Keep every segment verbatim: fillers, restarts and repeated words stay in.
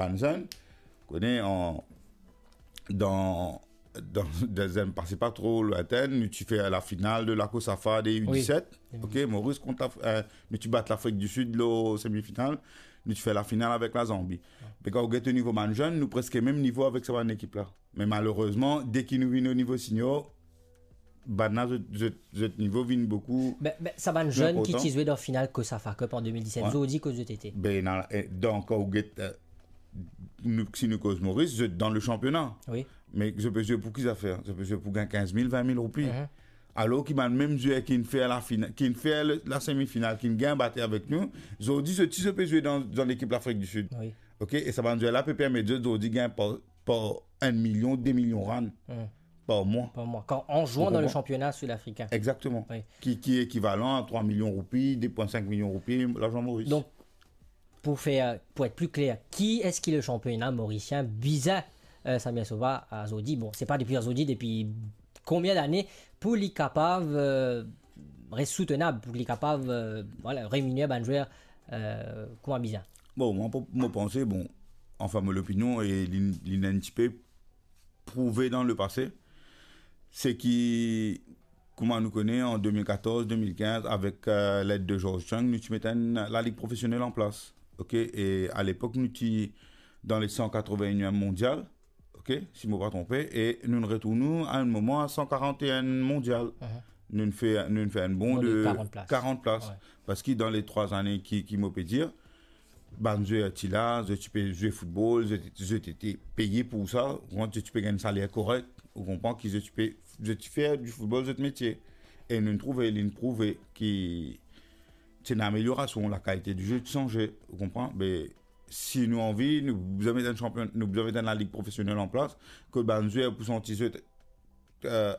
Bann zenn, kone, an, dan, dan, dan zenn pase pa tro lwintin, nou ti fer lafinal de la COSAFA de U disèt. Wi. Ok, Moris kont Laf-, eh, nou ti bat Lafrik di Sid lor semifinal, nou ti fer lafinal avek Lazanbi. Wi. Me kan ou get o nivo bann zenn, nou preske mem nivo avek sa bann ekip la. Me malerezman, deki nou vinn o nivo senior, bann la, zot, zot, zot nivo vinn boukou... Be, be, sa bann zenn ki ti zwe dan final COSAFA Cup an de mil disèt, wi, zot ki zot ete? Be, ena, eh, donk, ou get, eh, nou, si nou koz Moris, zot dan le sanpiona. Wi. Me zot pe zwe pou ki zafer? Zot pe zwe pou gagn kinz mil, vin mil roupi. Mhm. Alor ki bann mem zwer ki finn fer lafina-, ki finn fer le, la semifinal, ki gagn bate avek nou, zordi, zot ti, zot pe zwe dan, dan lekip Lafrik di Sid. Wi. Ok, e sa bann zwer la pe permet zot zordi gagn par, par enn milion, de milion rand, hmm, par mwa. Par mwa. Kan, an zwan dan le sanpiona sud-afrikin. Ou konpran? Exactement. Wi. Ki, ki ekivalan a trwa milion roupi, de pwin sink milion roupi, larzan Moris. Donk, pou fer, pou et pli kler, ki eski le sanpiona morisien bizin, eh, Samir Sova, azordi, bon, se pa depi azordi, depi konbien dane, pou li kapav, eh, res soutenab, pou li kapav, eh, vwala, reminer bann zwer, eh, kouma bizin? Bon, mwa, pou, mo panse, bon, anfin, mo lopinion, e li, li ena enn tipe prouve dan lepase, se ki, kouma nou kone, an de mil katorz, de mil kinz, avek, eh, led de George Chang, nou ti met enn lalig profesionel an plas. Ok, e alepok, nou ti dan le san katrovin-eniem mondial, ok, si mo pa tronpe, e nou retourn nou a enn moman a san karant-e-enn mondial. Mhm. Nou fer, nou fer enn bond de karant plas. Karant plas. Wi. Parski dan le trwa zane ki, ki mo pe dir, bann zwer ti la, zot ti pe zwe foutbol, zot, zot ete peye pou sa, ou konpran, zot ti pe gagn saler korek, ou konpran, ki zot ti pe, zot ti fer di foutbol zot metie. E nou trouve, li prouve ki ti ena ameliorasion, lakalite di ze ti sanze, ou konpran? Be, si nou anvi, nou bizin met enn sanpion-, nou bizin met enn lalig profesionel an plas, kot bann zwer pou santi zot, eh,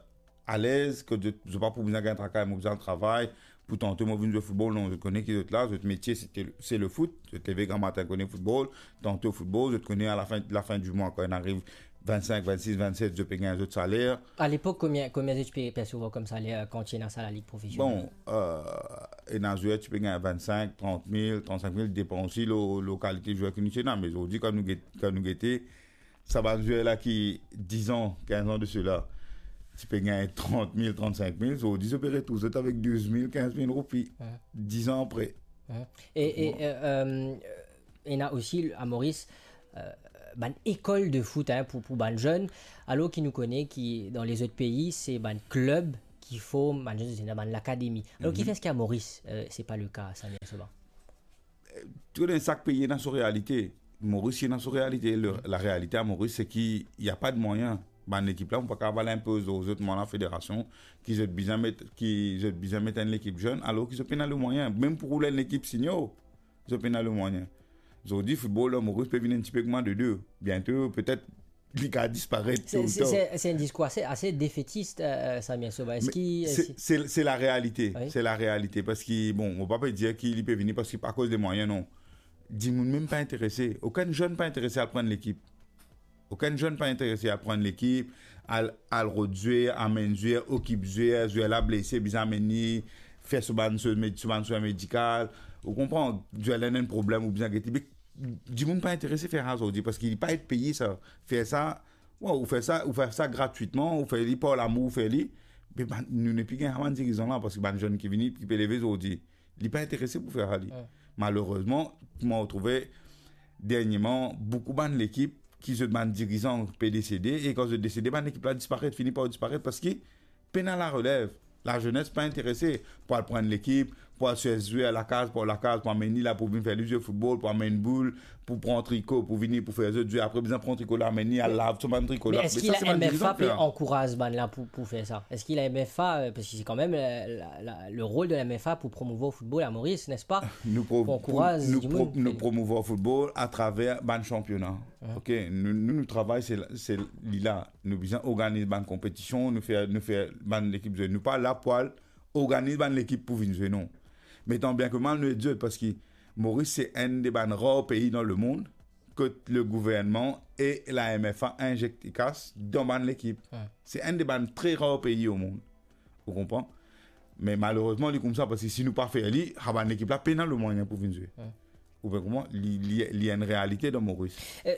alez, kot zot, zot pa pou bizin gagn traka, mo bizin travay, pou tanto mo vinn zwe foutbol, non, zot kone ki zot la, zot metie se, se le foot, zot leve gramatin kone foutbol, tanto foutbol, zot kone a lafin, lafin di mwa, kan inn ariv vin-sink, vin-sis, vin-set, zot pe gagn zot saler. Alepok, konbien, konbien zot ti pe persevwar kom saler, eh, kan ti ena sa lalig profesionel? Bon, eh, ena zwer ti pe gagn vin-sink, trant mil, trant-sink mil, depann osi lor, lor kalite zwer ki nou ti ena. Me zordi, kan nou get-, kan nou gete, sa bann zwer la ki diz an, kinz an de sela, ti pe gagn trant mil, trant-sink mil, zordi, zot pe retrouv zot avek douz mil, kinz mil roupi. Wi. Diz an apre. Wi. E, e, eh, eh, ena osi a Moris, eh, bann lekol de foot, hein, pou, pou bann zenn, alor ki nou kone ki dan lezot pei, se bann klib ki form bann zenn, se bann lakademi. Alor, mhm, kifer eski a Moris, eh, se pa le ka, Samir Sova? Eh, tou dan sak pei ena so realite. Moris ena so realite. Le, la realite a Moris, se ki, y a pas de moyen. Bann lekip la, ou pa kapav al inpoz lor zot, mwa, lafederasion, ki zot bizin met, ki zot bizin met enn lekip zenn, alor ki zot pena lemwayin. Mem pou roul enn lekip senior, zot pena lemwayin. Zordi, foutbol dan Moris pe vinn enn tipe kouma dodo. Biento, petet, li kapav disparet. Se, to ou se, tar. Se, se enn diskour ase, ase defetis, eh, eh, Samir Sova. Me eski, se, eski se, se la realite. Wi. Se la realite. Parski, bon, mo pa pe dir ki li pe vini parski akoz de mwayin, non. Dimoun mem pa interese. Okenn zenn pa interese al pran lekip. Okenn zenn pa interese al pran lekip, al, al rod zwer, amenn zwer, okip zwer, zwer la blese, bizin amenn li, fer so bann so med-, so bann swen medikal. Ou konpran, zwer la ena enn problem, ou bizin gete. Me dimoun pa interese fer sa zordi, parski li pa et peye sa. Fer sa, wa, ou fer sa, ou fer sa gratwitman, ou fer li par lamour, ou fer li. Me bann, nou nepli gagn sa bann dirizan la, parski bann zenn ki vini, ki pe leve zordi, li pa interese pou fer sa li. Wi. Malerezman, mo trouve, dernieman, boukou bann lekip ki zot bann dirizan pe desede, e kan zot desede, bann lekip la disparet, fini par disparet, parski pena larelev. Lazenes pa interese pou al pran lekip, pou al sers zwer lakaz par lakaz, pou amenn li la, pou vinn fer li zwe foutbol, pou amenn boul, pou pran triko, pou vini, pou fer zot zwe. Apre, bizin pran triko la, amenn li, al lav so bann triko la. Me eski la M F A pe ankouraz bann la pou, pou fer sa? Eski la M F A, eh, parski se kanmem, eh, la, la, le rol de la M F A pou promouvwar foutbol a Moris, nespa? Nou pro-, pou ankouraz nou dimoun pro-, nou promouvwar foutbol atraver bann sanpiona. Wi. Ok, nou, nou, nou travay, se la, se li la. Nou bizin organiz bann konpetision, nou fer, nou fer bann lekip zwe. Nou pa la pou al organiz bann lekip pou vinn zwe, non. Me tan bien ke mal, nou ed zot, parski Moris se enn de bann rar pei dan lemond kot le gouvernman e la M F A inzekte kas dan bann lekip. Wi. Se enn de bann tre rar pei o mond. Ou konpran? Me malerezman, li koumsa, parski si nou pa fer li, sa bann lekip la pena lemwayin pou vinn zwe. Wi. Ou pe konpran? Li, li, li enn realite dan Moris. Eh,